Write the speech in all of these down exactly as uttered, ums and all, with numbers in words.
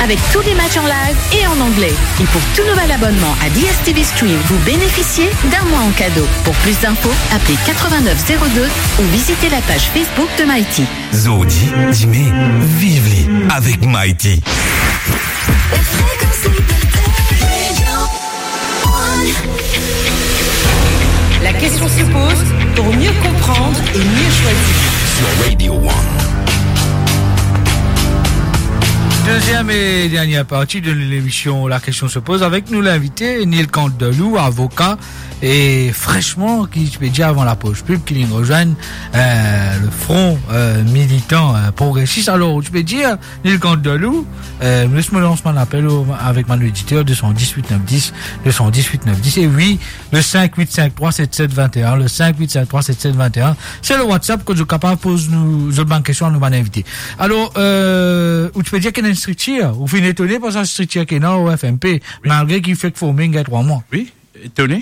Avec tous les matchs en live et en anglais. Et pour tout nouvel abonnement à D S T V Stream, vous bénéficiez d'un mois en cadeau. Pour plus d'infos, appelez quatre-vingt-neuf zéro deux ou visitez la page Facebook de Mighty. Zordi, dime, viv li avek Mighty. La question se pose pour mieux comprendre et mieux choisir. Sur Radio One. Deuxième et dernière partie de l'émission La question se pose avec nou linvite, Nilkant Delou, avoka, e fresman, ki ti pe dir avan lapos pib, ki li rezwenn, euh, le Front, euh, Militant, euh, Progresis. Alor, ti pe dir, Nilkant Delou, euh, les mo lans bann apel o, avek bann oditer, deux cent dix-huit neuf dix, deux cent dix-huit neuf dix. E wi, le cinq huit cinq trois sept sept vingt et un, le cinq huit cinq trois sept sept vingt et un, se le WhatsApp kot zot kapav poz nou, zot bann kestion a nou bann invite. Alor, euh, ou ti pe dir ki ena enn striktir, ou finn etone par sa striktir ki ena o F M P, wi, malgre ki fek forme, gagn trwa mwa. Wi, etone.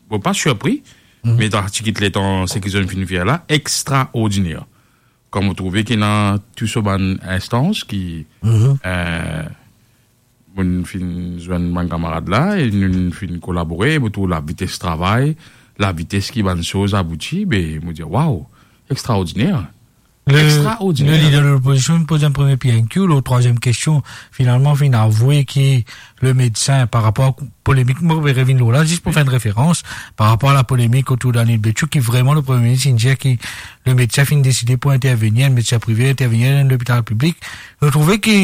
Bon, pa sirpri, mhm, me dan ti kit letan, seki zot finn fer la, extraordiner. Kan mo trouve ki ena tou so bann instans ki, mhm, euh, mo finn zwenn bann kamarad la, e nou finn kolabore, mo trouv lavites travay, lavites ki bann soz abouti, be, mo dir, waw, extraordiner. Le, extraordiner. Le lider de lopozision inn poz enn premie P N Q, lor trwaziem kestion, finalman, finn avoue ki le medsin, par rapor a polemik, mo revinn lor la, zis pou fer enn referans, par rapor a la polemik otour Daniel Bechou, ki vreman le Premie Minis inn dir ki le medsin finn deside pou intervenir, enn medsin prive intervenir dan lopital piblik. Mo trouve ki,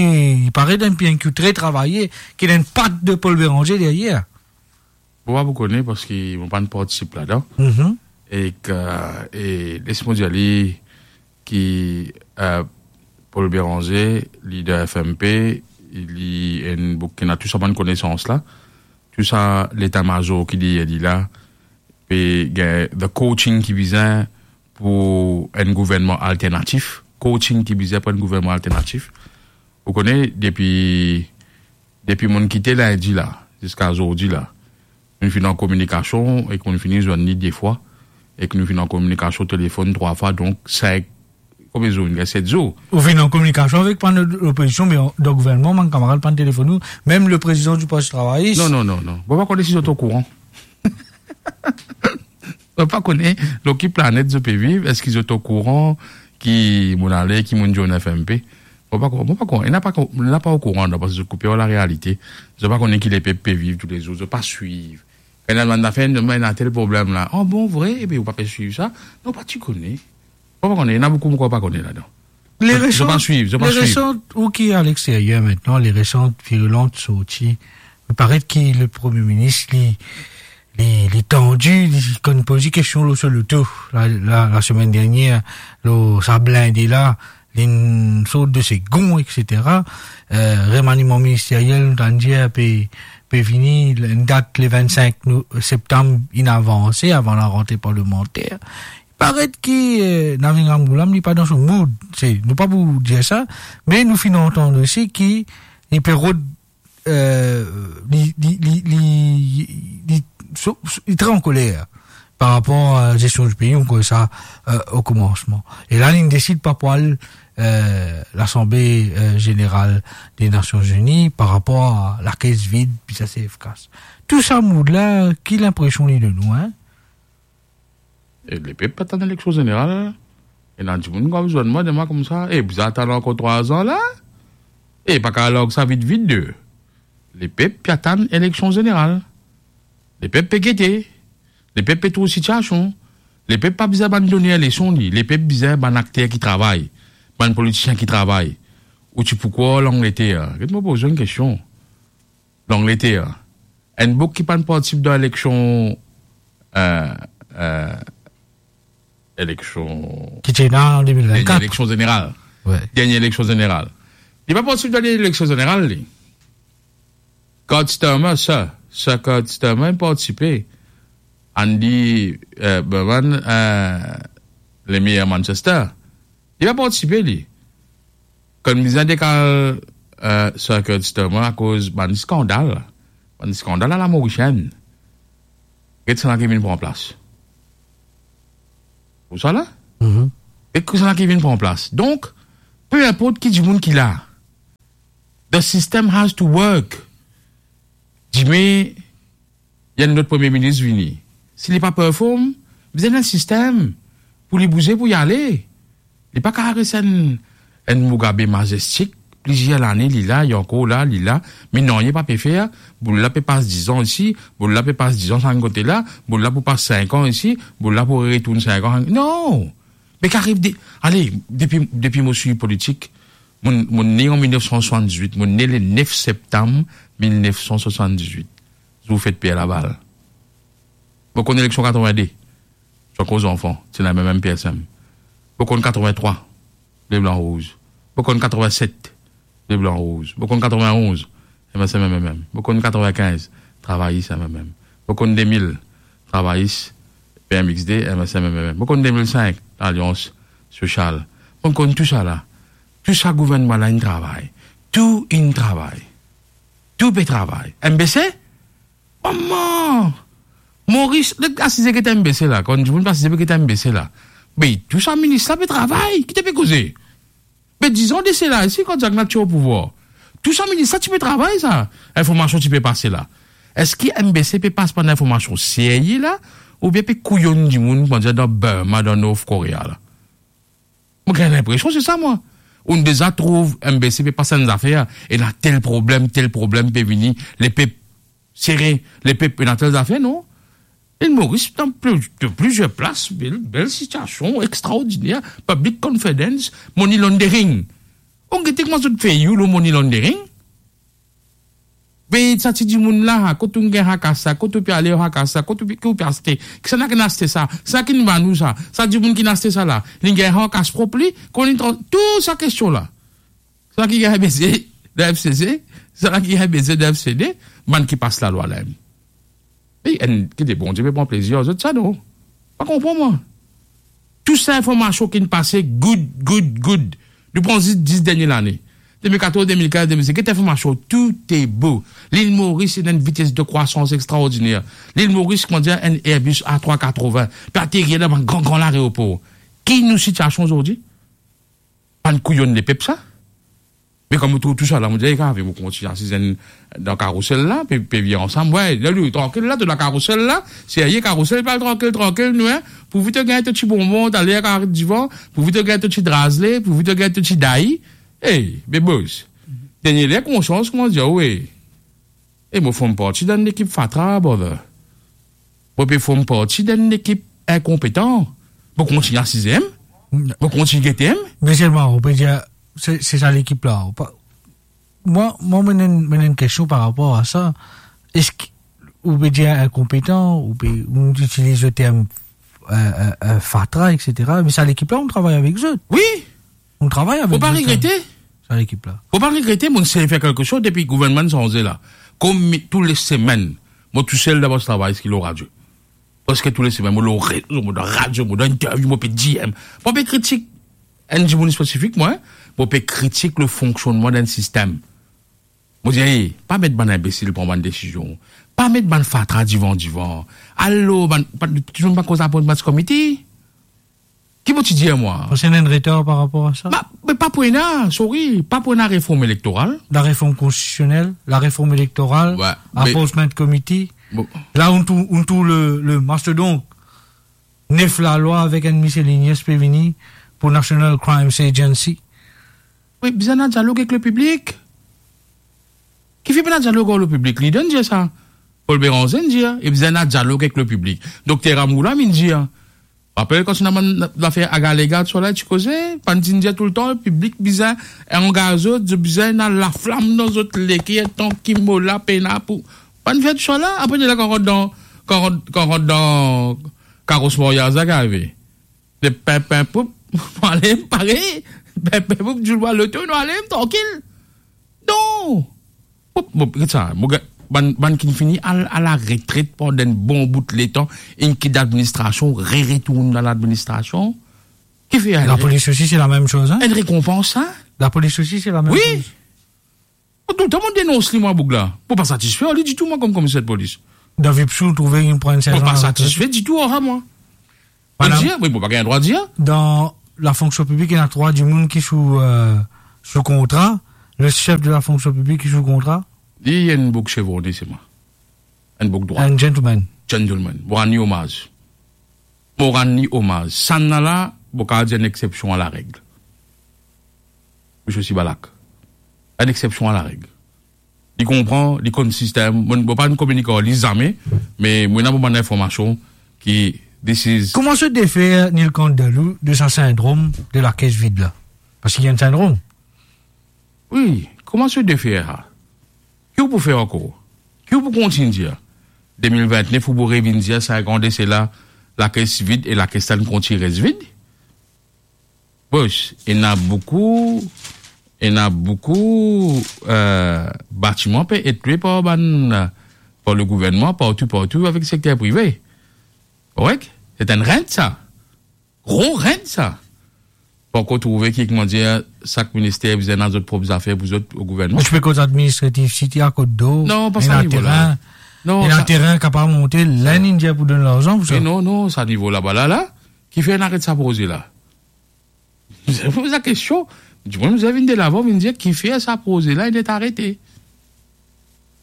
li paret enn P N Q tre travaye, ki ena enn pat de Paul Bérenger deryer. Mo pa pou kone parski mo pa'nn partisip ladan. Mhm. E ki, e les mo dir li ki, euh, Paul Bérenger, lider F M P, li enn boug ki ena tou sa bann konesans la, tou sa leta mazor ki deryer li la, pe gagn the coaching ki bizin pou enn gouvernman alternatif, coaching ki bizin pou enn gouvernman alternatif. Ou kone, depi, depi mo'nn kite lindi la, ziska zordi la, nou finn an kominikasion ek nou finn zwenn li de fwa, ek nou finn an kominikasion telefonn trwa fwa, donk sink, konbien zour, inn gagn set zour. Ou finn an kominikasion avek bann lopozision, me dan gouvernman, bann kamarad pa'nn telefonn ou, mem le prezidan di Parti Travayis. Non, non, non, non. Mo pa kone si zot okouran. Mo pa kone lor ki planet zot pe viv, eski zot okouran ki mo'nn ale, ki mo'nn dir F M P? Mo pa ko-, mo pa ko-, ena pa ko-, ena pa okouran, non, parski zot koupe ar larealite. Zot pa kone ki lepep pe viv toulezour, zot pa swiv. Kan ena bann zafer, ena tel problem la. Ah bon, vre? Ebien, ou pa pe swiv sa? Non, pa ti kone. Mo pa kone, ena boukou mo krwar pa kone ladan. Zot pa swiv, zot pa swiv. Ou ki aleksteryer aster, les récentes virulentes sorties, li paret ki le Premie Minis, li, li, li tandi, li konn poz li kestion lor so loto, la, la, la semenn dernier, lor sa blinde la, li sort de se gong, et cetera. Euh, remaniman ministeriel, nou tann dir, pe, pe vini, enn dat le vennsenk no-, septam, inn avanse avan larantre parlemanter. Paret ki, euh, Navin Ramgoolam, li pa dan so mood. Se, nou pa pou dir sa, me nou finn antann osi ki li pe rod, euh, li, li, li, li, li, so, so, li tre ankoler par rapor a gestion di pei, nou koz sa, euh, o koumansman. E la, li desid pa pou al, euh, Lasanble, euh, Zeneral de Nasion Zini par rapor a lakes vid, pi sa se efikas. Tou sa mood la, ki linpresion li donn ou, hein? E lepep pa tann eleksion zeneral la. Ena dimoun ki ap zwenn mwa, dir mwa koumsa, e bizin atann ankor trwa zan la? E pa kav larg sa vit vit de. Lepep pe atann eleksion zeneral. Lepep pe gete. Lepep pe trouv sitiasion. Lepep pa bizin bann doner leson li. Lepep bizin bann akter ki travay. Bann politisien ki travay. Ou ti pou krwar Langleter. Get mo poz ou enn kestion. Langleter. Enn boug ki pa'nn partisip dan eleksion, euh, euh, eleksion, ki ti ena an de mil vennkat. Dernie eleksion zeneral. Wi. Dernie eleksion zeneral. Li pa partisip dan eleksion zeneral, li. Keir Starmer, Sir, Sir Keir Starmer, li partisipe. Andy, euh, Burnham, euh, le maire Manchester. Li pa partisipe, li. Kan bizin dekal, euh, Sir Keir Starmer akoz bann skandal. Bann skandal a la Morisien. Get sannla ki vinn pran plas. Ou sa la? Mhm. E ki sannla ki vinn pran plas. Donk, pe inport ki dimoun ki la, The system has to work. Dime, enn lot premie minis vini. Si li pa perform, bizin enn sistem pou li bouze, pou li ale. Li pa kapav res enn, enn Mugabe mazestik, plizier lane li la, li ankor la, li la, me nanye pa pe fer. Boul la pe pas dizan isi, boul la pe pas dizan sa kote la, boul la pou pas sink an isi, boul la pou retourn sink an. Non! Me ki ariv de, ale, depi, depi mo swiv politik, mo, mo ne an mil nef san swasanndiz-wit, mo ne le nef septam mil nef san swasanndiz-wit, zour fet Pierre Laval. Mo konn eleksion katrovin-de, ti ankor zanfan, ti ena mem, mem P S M. Mo konn katrovin-trwa, le blan rouz. Mo konn katrovin-set, le blan rouz. Mo konn katrovin-onz, M S M M M M. Mo konn katrovin-kinz, Travayis M M M. Mo konn de mil, Travayis, P M X D, M S M M M M. Mo konn de mil sink, Lalians Sosial. Mo konn tou sa la. Tou sa gouvernman la inn travay. Tou inn travay. Tou pe travay. M B C? Mama! Moris, asize ki ete M B C la, kan dimoun pe asize ki ete M B C la. Me tou sa minis la pe travay, ki to pe koze? Me dizan de sela isi, kan Jack Nat ti o pouvwar, tou sa minis la ti pe travay sa, informasion ti pe pase la. Eski M B C pe pas bann informasion serye la, oubien pe kouyonn dimoun, kouma dir, dan Burma, dan North Korea la? Mo gagn linpresion se sa, mwa. Ou'nn deza trouv M B C pe pas enn zafer, ena tel problem, tel problem pe vini, lepep sere, lepep ena tel zafer, non? Lil Moris, dan pli-, de plizier plas, bel, bel sitiasion extraordiner, public confidence, money laundering. Ou gete kouma zot fer you lor money laundering? Be sa ti dimoun la, kot ou gagn hakas la, kot ou pe ale ar hakas la, kot ou pe, ki ou pe aste, kisannla ki'nn aste sa, sa ki'nn vann ou sa, sa dimoun ki'nn aste sa la, li gagn hakas prop li, kouma li tran-, tou sa kestion la. Sa ki gagn beze dan F C C, sa ki gagn beze dan F C D, bann ki pas lalwa la mem. E enn, ki de Bondie pe pran plezir ar zot sa, non? Pa konpran mwa. Tou sa informasion ki'nn pase, good, good, good. Nou pran zis dis dernie lane. De mil katorz, de mil kinz, de mil sez, get informasion, tou e bo. Lil Moris ena enn vites de krwasans extraordiner. Lil Moris, kouma dir, enn Airbus A trwa katrovin, pe aterir dan bann gran, gran laeropor. Ki nou sitiasion zordi? Bann kouyonn lepep sa. Me kan mo trouv tou sa la, mo dir, "Ey, kavi, mo kontign asiz dan karousel la, pe, pe vinn ansam." Wey, lerla, trankil la, to dan karousel la, serye, karousel, pa al trankil, trankil, nou, hein. Pourvi to gagn to ti bonbon, taler karet divan, pourvi to gagn to ti drazle, pourvi to gagn to ti dayi. Ey, be boss, dernie ler konsians kouma dir, wey. E mo form parti dan enn lekip fatra, brother. Mo pe form parti dan enn lekip inkonpetan. Mo kontign asize, mo kontign gete. Me selman, ou pe dir, se, se sa lekip la. Ou pa, mwa, mwa, mo ena enn, mo ena enn kestion par rapor a sa. Eski ou pe dir inkonpetan, ou pe, ou itiliz le term, euh, euh, euh, fatra, et cetera. Me sa lekip la, ou travay avek zot. Wi. Ou travay avek zot, hein. Fo pa regrete. Sa lekip la. Fo pa regrete, mo'nn seye fer kelke soz depi gouvernman sanze la. Kouma tou le semenn, mo tousel dan mo travay, eski lor radio. Preske tou le semenn, mo lor rezo, mo dan radio, mo dan interview, mo pe dir, mo pa pe kritik enn dimoun spesifik, mwa, mo pe kritik le fonksionnman dan enn sistem. Mo dir, "Ey, pa met bann inbesil pran bann desizion. Pa met bann fatra divan, divan. Alo, bann, pa, dimoun pa koz appointments committee." Ki mo ti dir, mwa? Ou ena enn retar par rapor a sa? Ba, me pa pou ena, sorry, pa pou ena reform elektoral. La reform konstitisionel, la reform elektoral, wi, me appointment committee. Bon. La, ou trouv, ou trouv le, le mastodont, nef lalwa avek enn miscellaneous pe vini pou National Crimes Agency. Wi, bizin ena dialog ek le piblik. Kifer pena dialog ar le piblik? Lider inn dir sa. Paul Bérenger inn dir, e bizin ena dialog ek le piblik. Dokter Rameau la, inn dir. Rapel kan ti ena bann zafer agaleka, tousala ti koze, bann ti dir toultan, piblik bizin angaz zot, zot bizin ena laflam dan zot leker, tan ki mo la pena pou. Bann fer tousala, apre de la kan rant dan, kan rant, kan rant dan karos maryaz la, ki arive? Le pin, pin, poup, nou ale, pare, pin, pin, poup, dimoun bwar loto, nou ale, trankil. Non! Bon, bon, get sa, mo ga-, bann, bann ki fini al, al aretret pandan enn bon bout letan, inn kit ladministrasion, re-retourn dan ladministrasion. Kifer? Lapolis osi, se la mem soz, hein? Enn rekonpans, hein? Lapolis osi, se la mem soz. Wi. Mo toultan mo denons li, mwa, boug la. Mo pa satisfe ar li ditou, mwa, kom komiser de polis. Dan Vipsou, ou trouve li pran enn sertan laretret? Mo pa satisfe ditou ar sa, mwa. Madam, dir, wi, mo pa gagn drwa dir. Dan lafonksion piblik, ena trwa dimoun ki sou, euh, sou kontra, Le chef de la fonction publique ki sou kontra? Li enn boug chevronne selman. Enn boug drwat. Enn gentleman. Gentleman. Mo rann li omaz. Mo rann li omaz. Sannla, mo kapav dir enn exception à la règle. Misie Sibalak. Enn exception à la règle. Li konpran, li konn sistem. Mo, mo pa finn kominik ar li zame, me mo ena mo bann informasion ki this is Comment se défaire, Nilkant Dalou, de sa syndrome de la caisse vide la? Parski li ena enn syndrome. Wi, comment se défaire sa? Ki ou pou fer ankor? Ki ou pou kontign dir? De mil vintnef, ou pou revinn dir, sink an de sela, la caisse vide e la caisse la kontign res vid? Bos, ena boukou, ena boukou, euh, batiman pe et lwe par bann, par le gouverneman, partou, partou, avek sekter prive. Korek? Se enn rent sa. Gro rent sa. Pankor trouve ki, kouma dir, sak minister bizin ena zot prop zafer pou zot o gouvernman. Zot pe koz administratif, site akote do, Non, pa sa nivo la. Terin, Non, ena sa terin kapav monte, ler inn dir pou donn larzan pou sa. Me non, non, sa nivo laba la, la, kifer inn aret sa proze la? Bizin poz la kestion. Dimoun bizin vinn delavan, vinn dir kifer sa proze la inn et arete.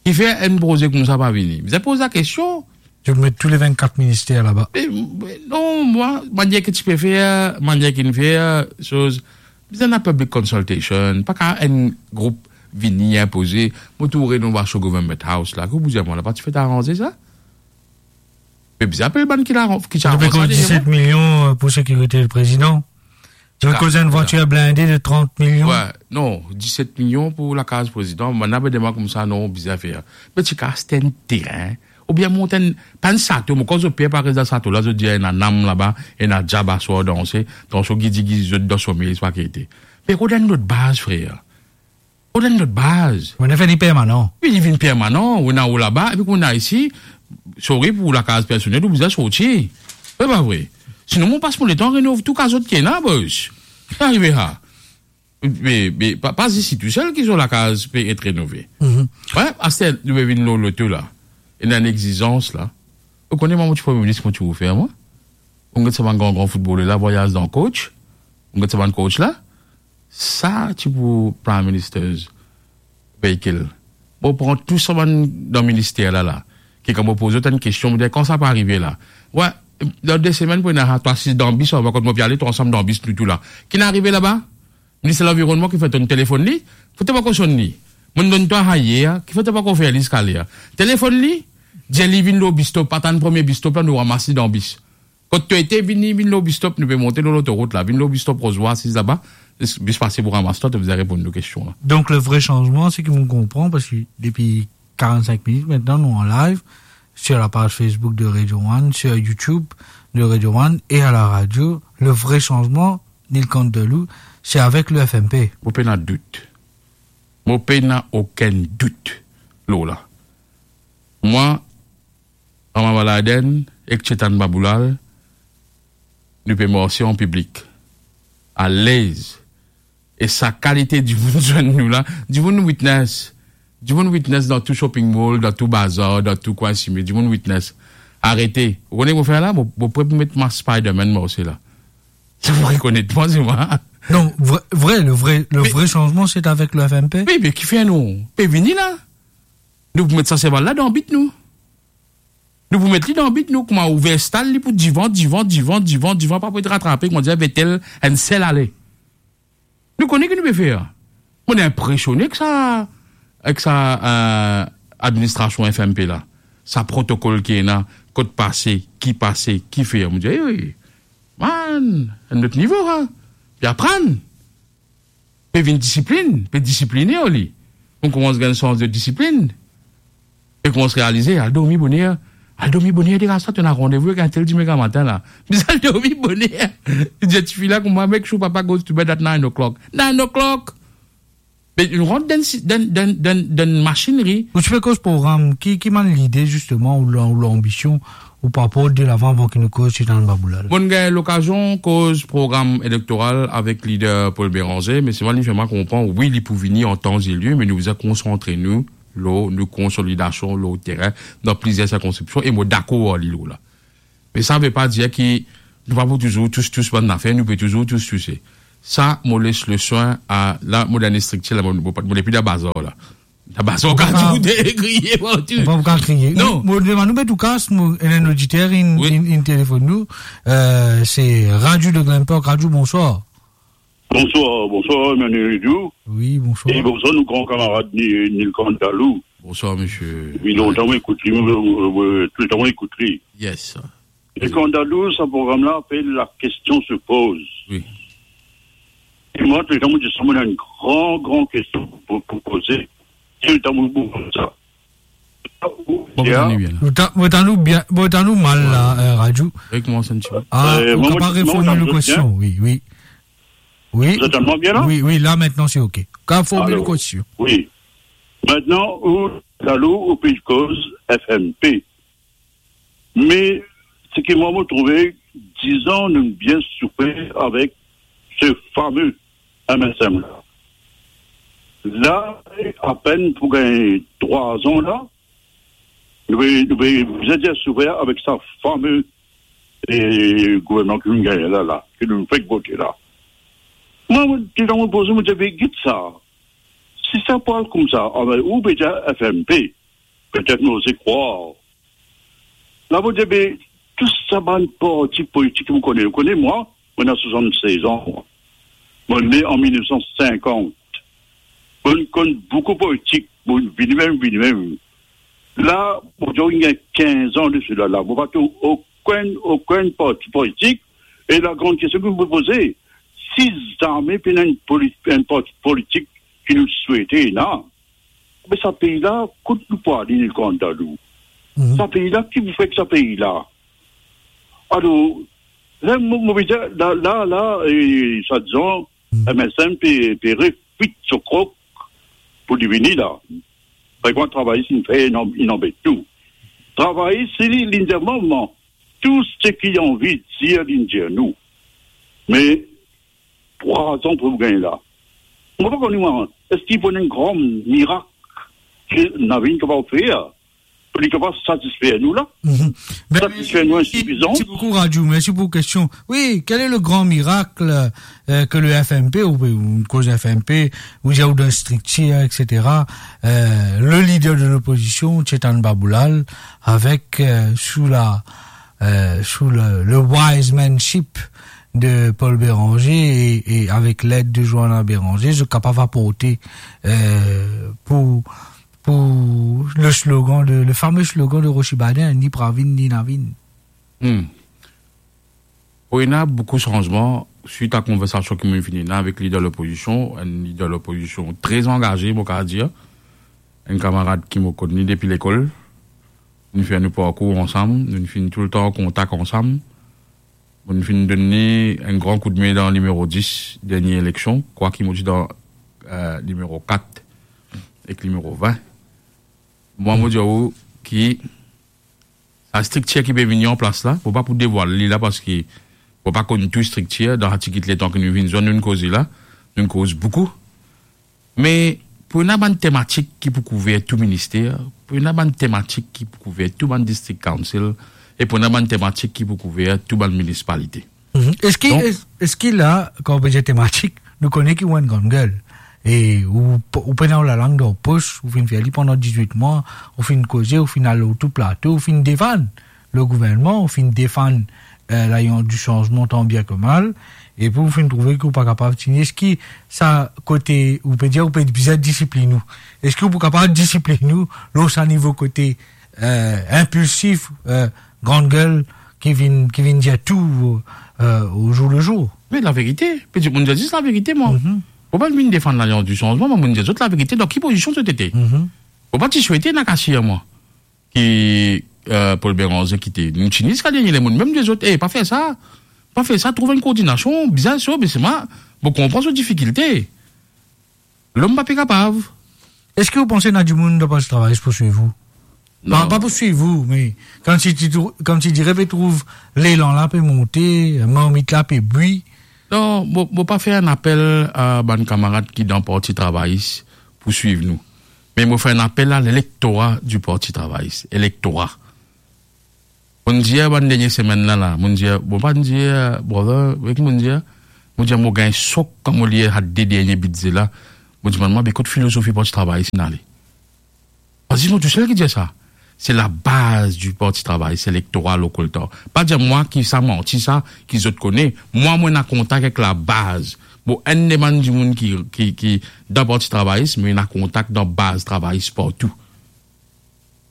Kifer enn proze koumsa pa vini? Bizin poz la kestion. Zot met tou le vennkat minister laba. Me, me non, mwa, manier ki ti pe fer, manier ki inn fer, soz, bizin ena public consultation, pa kapav enn group vini inpoze. Mo trouv renovasion Government House la, ki ou pou dir mwa, la pa ti fek aranze sa? Me bizin apel bann ki la, ki ti Zot pe aranze koz sa, disset milion, euh, pou sekirite le prezidan. Zot pe koz enn vwatir blinde de trant milion. Wi, non, disset milion pou lakaz prezidan. Bann la pe demann koumsa, non, bizin fer. Me ti kapav aste enn terin, oubien mont enn, pa enn sato, mo krwar zot per pa res dan sato la, zot dir ena nam laba, ena diab aswar danse, dan so gidi gidi zot dan somey, zot pa gete. Me kot enn lot baz, frer? Kot enn lot baz? Ou ena fer li permanan. Wi, li vinn permanan, ou ena ou laba, epi kouma isi, sorry pou lakaz personel, ou bizin sorti. Vre pa vre? Sinon, mo pas mo letan renov tou kaz zot ki ena, bos. Ki arive sa? Me, me, pa, pa zis li tousel ki so lakaz pe et renove. Mhm. Wi, aster nou pe vinn lor loto la. Ena enn exizans la. Ou kone mwa, mo ti Premie Minis, mo ti pou fer mwa? Ou get sa bann gran gran foutboler la vwayaz dan coach. Ou get sa bann coach la. Sa ti pou Prime Minister's vehicle. Mo pran tou sa bann dan minister la, la. Ki kan mo poz zot enn kestion, mo dir, kan sa pou arive la? Wi, dan de semenn pou ena sa, to asiz dan bis, anba kot mo pe ale, to ansam dan bis, nou tou la. Ki'nn arive laba? Minister Lanvironnman, kifer to'nn telefonn li? Kifer to pankor sonn li? Mo'nn donn twa sa yer, kifer to pankor fer li ziska ler? Telefonn li, dir li vinn lor bis stop, atann premie bis stop la, nou ramas li dan bis. Kot to ete, vini, vinn lor bis stop, nou pe monte lor lotorout la, vinn lor bis stop Roz Vwa, asiz laba, bis pase pou ramas twa, to bizin reponn nou kestion la. Donc, le vrai changement, seki mo konpran, parski depi quarante-cinq minutes maintenant, nous en live sur la page Facebook de Radio One, sur YouTube de Radio One et à la radio. Le vrai changement, Nilkant Dalou, c'est avec le F M P. Mo pena dout. Mo pena okenn dout lor la. Mwa, Rama Baladène ek Tsetan Baboulal, nou pe marse an piblik, alez. E sa kalite dimoun zwenn nou la, dimoun witness. Dimoun witness dan tou shopping mall, dan tou bazar, dan tou kwin sime, dimoun witness. Arete. Ou kone ki mo fer la? Mo, mo pre pou met mask Spider-Man marse la. Zot pou rekonet mwa, se mwa. Non, vre, vre, le vrai, le vrai changement, c'est avec le F M P. Wi, me kifer nou pe vini la? Nou pou met sa seval la dan bit nou. Nou pou met li dan bit nou, kouma ouver stal li pou divan, divan, divan, divan, divan, pa pou et ratrape, kouma dir Vetel, enn sel ale. Nou kone ki nou pe fer. Mo inpresionnen ek sa, ek sa, euh, administrasion F M P la. Sa protokol ki ena, kot pase, ki pase, ki fer. Mo dir, ey, ey, man, enn lot nivo, sa. Pe aprann. Pe vinn disiplinn, pe disipline li. Ou koumans gagn sans de disiplinn. E koumans realize, al dormi boner. Al dormi boner, degaze twa, to ena randevou ek entel dime gramatin la. Bizin al dormi boner. Li dir tifi la kouma, "Make sure papa goes to bed at nine o'clock." Nine o'clock! Me nou rant dan, dan, dan, dan masinri. Ou ti pe koz program, ki, ki bann lide, zisteman, ou la, ou lanbision, ou pe aport delavan avan ki nou koz Tsetan Baboulal? Mo'nn gagn lokazion koz program elektoral avek lider Paul Bérenger, me selman li fer mwa konpran, wi, li pou vini an tan e lir, me nou bizin konsantre nou lor nou konsolidasion lor terin, dan plizier sirkonskripsion, e mo dakor ar li lor la. Me sa ve pa dir ki nou pa pou touzour tous, tous bann zafer, nou pe touzour tous, touse. Sa, mo les leswin a, la, mo dan enn striktir la, mo, mo, mo depi dan bazar la. Dan bazar, ou kapav kriye partou. Ou pa kapav kriye. Non. Mo, mo demann ou, me touka, mo, enn oditer, inn, inn, inn telefonn nou. Euh, se Radio de Glenpark. Radio, bonswar. Bonswar, bonswar, Emmanuel Ledoux. Wi, bonswar. E bonswar, nou gran kamarad Ni-, Nilkant Dalou. Bonswar, misie. Depi lontan, mo ekout li, mo, mo, mo, touletan, mo ekout li. Yes. Nilkant Dalou, sa program la apel La Question se pose. Wi. E mwa, touletan, mo dir sa, mo ena enn gran, gran kestion pou, pou poze. Touletan, mo, mo, sa. Bon, mo tann ou bien la. Mo ta-, mo tann ou bien, mo tann ou mal la, euh, Radio. Rekoumans enn ti pe. Ah, euh, ou kapav reformil ou kestion, wi, wi. Wi. Zot tann mwa bien la? Wi, wi, la, aster, se ok. Ou kapav reformil ou kestion. Wi. Aster, ou, Dalou, ou pe koz F M P. Me, seki mwa, mo trouve, dizan, nou bien soufer avek se fame M S M la. La, apenn pou gagn trwa an la, nou pe, nou pe bizin dir soufer avek sa fame, e, gouvernman ki nou gagn la, la, ki nou fek vote la. Mwa, mwa, touletan mo poze, mo dir, be, get sa. Si sa pou al koumsa, anben, ou pe dir F M P, petet nou oze krwar. La, mo dir, be, tou sa bann parti politik ki mo kone, ou kone mwa, mo ena swasann-sez an, mwa. Mo ne an mil nef san sinkant. Mo konn boukou politik, mo vini mem, vini mem. La, mo dir, inn gagn kinz an de sela la. Mo pa trouv okenn, okenn parti politik. E lagran kestion ki mo poze, si zame pena enn poli-, enn parti politik ki nou swete ena, me sa pei la, kot nou pou ale, Nilkant Dalou? Mhm. Sa pei la, ki pou fer ek sa pei la? Alor, la, mo, mo pe dir, la, la, la, e, swadizan, Mhm. M S M pe, pe refwit so krok pou li vini la. Parski travayis inn fer, inn, inn anbet nou. Travayis, se li, li dir, mwa, tou seki li anvi dir, li dir nou. Me trwa an pou gagn la. Mo pa kone mwa, eski pou ena enn gran mirak ki nou inn kapav fer pou li kapav satisfer nou la? Mhm. Ben, satisfer nou, mersi, insifizan. Mersi boukou, Radio. Mersi pou kestion. Wi, quel est le grand miracle, euh, que le F M P, ou, ou koz F M P, ou dir ou dan striktir, et cetera, euh, le leader de l'opposition, Tshetan Baboulal, avec, euh, sous la, euh, sous le, le wisemanship de Paul Bérenger et, et avec l'aide de Johanna Bérenger, zot kapav aporte, euh, pou, pou le slogan de, le fameux slogan de Roche Badin, ni pravin, ni navin. Hmm. Pou ena boukou sanzman, swit a konversasion ki mo finn ena avek lider lopozision, enn lider lopozision tre angaze, mo kapav dir, enn kamarad ki mo konn li depi lekol, nou fer nou parkour ansam, nou finn toultan an kontak ansam. Mo finn donn li enn gran koudme dan nimero dis, dernie eleksion, kwak mo ti dan, eh, nimero kat ek nimero vin. Mwa, mo dir ou ki sa striktir ki pe vini an plas la, mo pa pou devwal li la, parski mo pa konn tou striktir, dan sa tigit letan ki nou vinn zwenn, nou koze la, nou koz boukou. Me pou ena bann tematik ki pou kouver tou minister, pou ena bann tematik ki pou kouver tou bann district council, e pou ena bann tematik ki pou kouver tou bann minisipalite. Mhm. Eski, donk, es-, eski la, kan ou pe dir tematik, nou kone ki ou enn gran gel, e ou, ou pena ou lalang dan ou pos, ou finn fer li pandan dizwit mwa, ou finn koze, ou finn al lor tou plato, ou finn defann le gouvernman, ou finn defann, eh, Lalians di Sanzman tan bien ki mal, epi ou finn trouve ki ou pa kapav tini. Eski sa kote, ou pe dir, ou pe bizin disiplinn ou? Eski ou pou kapav disiplinn ou lor sa nivo kote, eh, inpilsif, eh, gran gel ki vinn, ki vinn dir tou, eh, o zour le zour? Me laverite, pe dir, mo dir zis laverite, mwa. Mhm. Mo pa vinn defann Lalians di Sanzman, mwa, mo dir zot laverite, dan ki pozision zot ete. Mhm. Mo pa ti swete ena kasir, mwa, ki, eh, Paul Bérenger kite. Nou tini ziska dernie lemonn, mem dir zot, "Eh, pa fer sa, pa fer sa, trouv enn koordinasion, bizin so, me se mwa, mo konpran so difikilte." Lom pa pe kapav. Eski ou panse ena dimoun dan Parti Travayis pou swiv ou? Non. Pa, pa pou swiv ou, me koumsi ti trou-, koumsi dire pe trouv lelan la pe monte, marmit la pe bwi. Non, mo, mo pa fer enn apel a bann kamarad ki dan Parti Travayis pou swiv nou. Me mo fer enn apel a lelektora di Parti Travayis, elektora. Mo'nn dir bann dernie semenn la, la, mo'nn dir, mo pa'nn dir, brother, wi, mo'nn dir, Mo dir, mo gagn sok kan mo lir sa de dernie bidze la. Mo dimann mwa, be kot filozofi Parti Travayis inn ale? Parski mo tousel ki dir sa. Se labaz di Parti Travayis, se lektora lokal. Pa dir mwa ki sa manti sa, ki zot kone. Mwa, mo ena kontak ek labaz. Bon, enn de bann dimoun ki, ki, ki dan Parti Travayis, mo ena kontak dan baz travayis partou.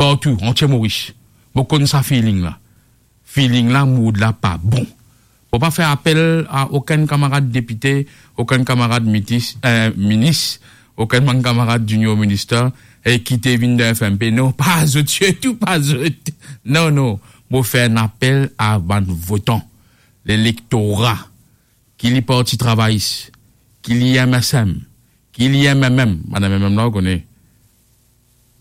Partou, antie Moris. Mo konn sa feeling la. Feeling la, mood la pa bon. Mo pa fer apel a okenn kamarad depite, okenn kamarad mitis, eh, minis, okenn bann kamarad Junior Minister, eh, ki te vinn dan F M P. Non, pa zot, sirtou pa zot. Non, non. Mo fer enn apel a bann votan, lelektora, ki li Parti Travayis, ki li M S M, ki li M M M, bann M M M la, ou kone.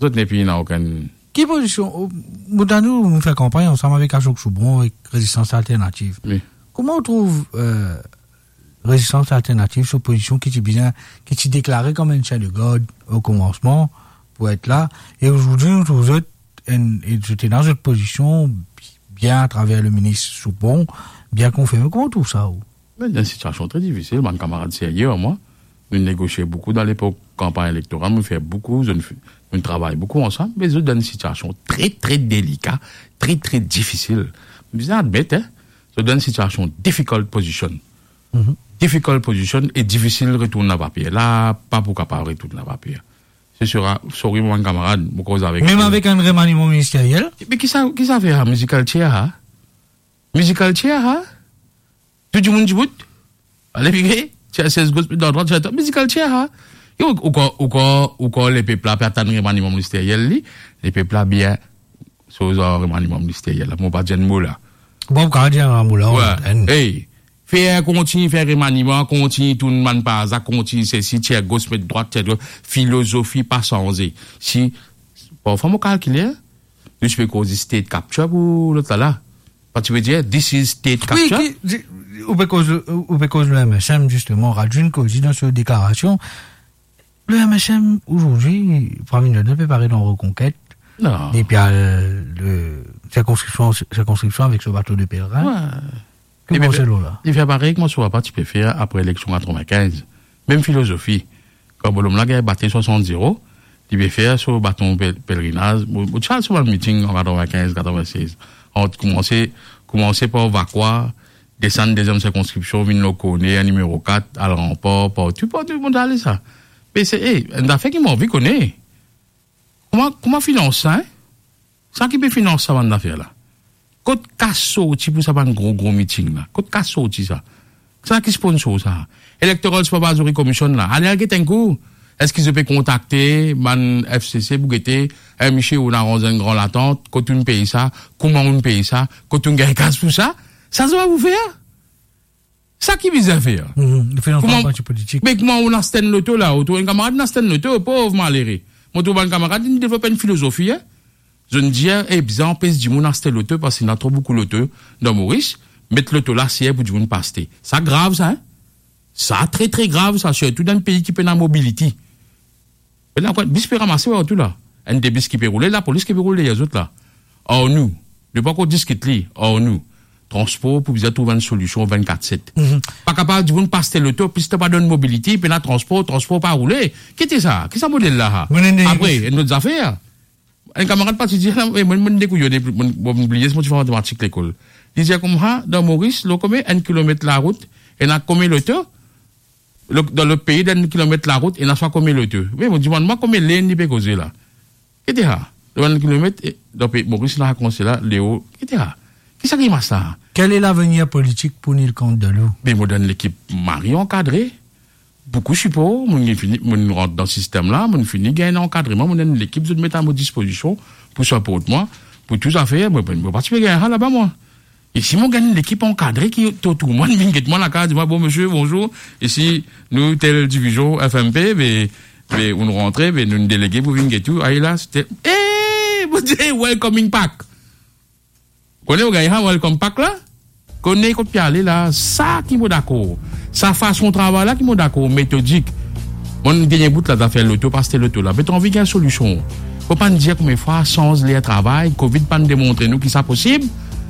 Zot nepli ena okenn... Ki pozision, o, mo tann ou, ou fer kanpagn ansam avek Ashok Soubron, avek Rezistans Alternativ. Wi. Kouma ou trouv, eh, Rezistans Alternativ, so pozision ki ti bizin, ki ti deklare kouma enn sien de gard o koumansman pou et la, e ozordi nou trouv zot enn, e zot ena zot pozision bien atraver le minis Soubron, bien konfirme. Kouma ou trouv sa, ou? Me dan enn sitiasion tre difisil, bann kamarad serye ar mwa. Nou negosie boukou dan lepok kanpagn elektoral, nou fer boukou, zot, nou travay boukou ansam, me zot dan enn sitiasion tre, tre delika, tre, tre difisil. Bizin admet, en, zot dan enn sitiasion difficult position. Mhm. Difficult position e difisil retourn lapapie. La, pa pou kapav retourn lapapie. Se sera, sorry, mo bann kamarad, mo koz avek... Mem avek enn remaniman ministeriel? Me ki sa, ki sa fer, ha? Musical chair, ha? Musical chair, ha? Tou dimoun dibout. Ale vire, ti sez gos, dan drwat, ti... Musical chair, ha? Yo, ou krwar, ou krwar, ou krwar lepep la pe atann remaniman ministeriel li? Lepep la bien soz ar remaniman ministeriel la. Mo pa dir enn mo la. Bon, ou kapav dir enn mo la, we, enn. Ey, fer, kontign fer remaniman, kontign tourn bann paza, kontign sesi, tir gos, met drwat, tir drwat. Filozofi pa sanze. Si, parfwa mo kalkile, nou ti pe koz state capture pou lot la la. Pa ti pe dir, this is state capture? Wi, ki, di, ou pe koz, ou pe koz le M S M, zisteman, Rajun koz li dan so deklarasion. Le M S M, ozordi, Prime Minister pe pare dan Reconquête. Non. Depi al, le, sirkonskripsion, sirkonskripsion avek so bato de pelerin. We. Ki... Li fer, li fer parey kouma so papa ti pe fer apre eleksion katrevinkinz. Mem filozofi. Kan bonom la gagn bate swasant zero, li pe fer so baton pel-, pelerinaz. Mo, mo ti al so bann miting an katrevinkinz, katrevinsez. Ant koumanse, koumanse par Vacoas, desann deziem sirkonskripsion, vinn lor Corneille, nimero kat, al Rempart, partou, partou, mo ti ale sa. Me se, ey, enn zafer ki mo anvi kone. Kouma, kouma finans sa, en? Sa ki pe finans sa bann zafer la? Kot kas sorti pou sa bann gro, gro miting la? Kot kas sorti sa? Sa ki sponsor sa? Electoral Supervisory Commission la, ale al get enn kou. Eski zot pe kontakte bann F C C pou gete, eh, misie, ou'nn aranz enn gran latant, kot ou'nn pey sa, kouma ou'nn pey sa, kot ou'nn gagn kas pou sa? Sa zot pa pou fer? Sa ki bizin fer? Mhm, li fer anfas parti politik. Me kouma ou'nn aste enn loto la, ou trouv enn kamarad inn aste enn loto, pov malere. Mo trouv bann kamarad inn devlop enn filozofi, en. Zot inn dir, eh, bizin anpes dimoun aste loto parski ena tro boukou loto dan Moris, met loto la ser pou dimoun pa aste. Sa grav sa, en. Sa tre, tre grav sa, sirtou dan enn pei ki pena mobility. Pena kwa, bis pe ramase partou la. Enn de bis ki pe roule, lapolis ki pe roule deryer zot la. Ar nou, nou pa ankor diskit li, ar nou, transpor pou bizin trouv enn solision vennkat set. Mhm. Pa kapav dimoun pa aste loto, plis to pa donn mobility, pena transpor, transpor pa roule. Ki ti sa? Ki sa model la, ha? Apre, enn lot zafer. Enn kamarad pa ti dir la, eh, mo, mo dekouyone, mo, mo bliye si mo ti fer matematik lekol. Li dir koumsa, dan Moris, lor konbien enn kilomet larout, ena konbien loto? Lo-, dan lot pei, dan enn kilomet larout, ena swa konbien loto? Me mo dimann mwa konbien lane li pe koze la. Ki ti sa? Dan enn kilomet, e, dan pei Moris la, koumsa la, Leo, ki ti sa? Ki sa ki mas sa? Quel est l'avenir politique pou Nilkant Dalou? Me mo dan enn lekip mari ankadre, boukou sipor, mo'nn fini, mo'nn rant dan sistem la, mo'nn fini gagn ankadreman, mo'nn enn lekip zot met a mo dispozision pou siport mwa, pou tou zafer, mo, mo pa ti pe gagn sa laba mwa. E si mo gagn enn lekip ankadre ki tour tour mwa, vinn get mwa lakaz, dir mwa, "Bon, misie, bonzour, isi nou tel divizion F M P, be, be, ou'nn rantre, be, nou'nn delege pou vinn get ou, aye la, se tel." Eh, mo dir, "Welcoming pack." Kone ou gagn sa welcome pack la? Kone kot pe ale la, sa ki mo dakor. Sa fason travay la ki mo dakor, metodik. Mo, dernie bout la, zafer loto, pa aste loto la, be to anvi gagn solision. Fo pa'nn dir konbien fwa, sanz ler travay, Covid pa'nn demontre nou ki sa posib.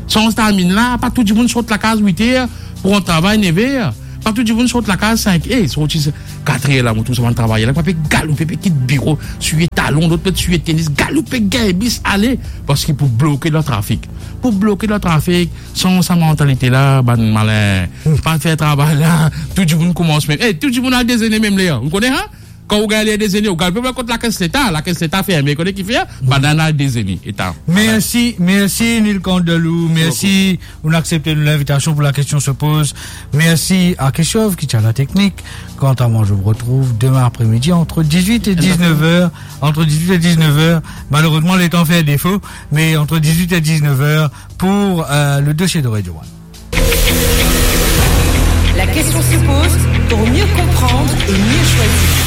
Sanz timing la, pa tou dimoun sort lakaz wit er pou rant travay nev er. Kan tou dimoun sort lakaz sink, e, sorti katrer la, mo trouv sa bann travayer la, pa pe galoupe, pe kit biro, swiye talon, lot pe swiye tenis, galoupe, gagn bis, ale, parski pou bloke dan trafik. Pou bloke dan trafik, sanz sa mantalite la, bann malin. Pa fer travay la, tou dimoun koumans mem. E, tou dimoun al dezene mem ler, ou kone, ha? Kan ou gagn ler dezene, ou gagn pe kot lakes Leta, lakes Leta ferme, kone ki fer? Bann al dezene, eta. Mersi, mersi Nilkant Delou, mersi, ou aksepte nou linvitasion pou La Question Se Pose. Mersi a Keshav ki ti a la teknik. Quant à moi, je vous retrouve demain après-midi entre dix-huit et dix-neuf heures. Entre dix-huit et dix-neuf heures. Malheureusement, le temps fait défaut, mais entre dix-huit et dix-neuf heures pour, euh, le dossier de Radio One. La Question Se Pose, pour mieux comprendre et mieux choisir.